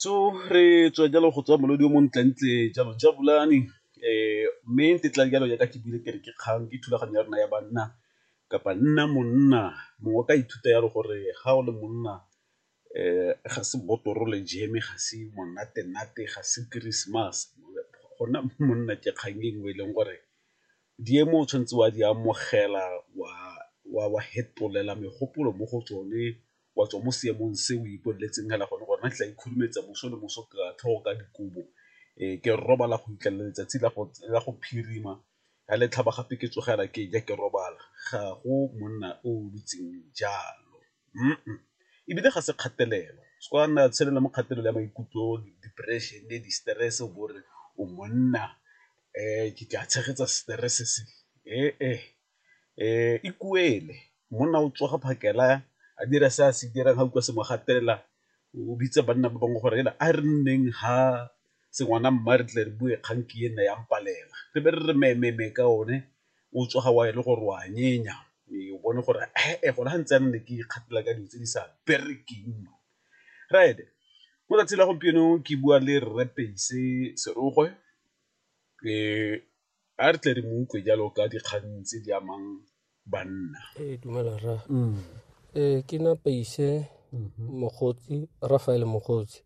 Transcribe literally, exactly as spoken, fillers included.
So re tswa jalo go tswa molodi o montlentle jalo Jabulani, mme ntetla jalo jaaka ke buile ke re ke kgang ke thulaganyo ya rona ya banna kapa nna monna. Mongwe o ka ithuta jalo gore ga o le monna ga se botoro le jeme, ga se monate-nate, ga se Keresemase, go nna monna ke kgang e nngwe e leng gore diemo o tshwanetse wa di amogela, wa fetolela megopolo mo go tsone, wa tswa mo seemong se o ipoleletseng fela gone gore nna ke tla ikhurumetsa moso le moso ka tlhogo ka dikobo ke robala go fitlhelela letsatsi la go phirima, ga le tlhaba gape ke tsogela ke ja ke robala, ga go monna o dutseng jalo ebile ga se kgatelelo se ka nna tshelela mo kgatelelo ya maikutlo, depression-e, di-stress o bo o re o monna ke tla tshegetsa stress se ikuele, monna o tsoga phakela a dira se a se dirang ga utlwa se mo gatelela o bitsa banna ba bangwe gore a re nneng ha sengwana mma re tle re bue kgang ke ena ya mpalela, re be re re me-me-me ka one o tsoga wa e le gore o a nyenya o bone gore gone ga ntse ne ke ikgapela ka dilo tse di sa berekeng. Right, mo 'tsatsing la gompieno ke bua le Rre Peise Serogwe a re tle re mo utlwe jalo ka dikgang tse di amang banna. Ee, dumela rra. Ee, ke nna Peise Mogotsi, Raphael Mogotsi.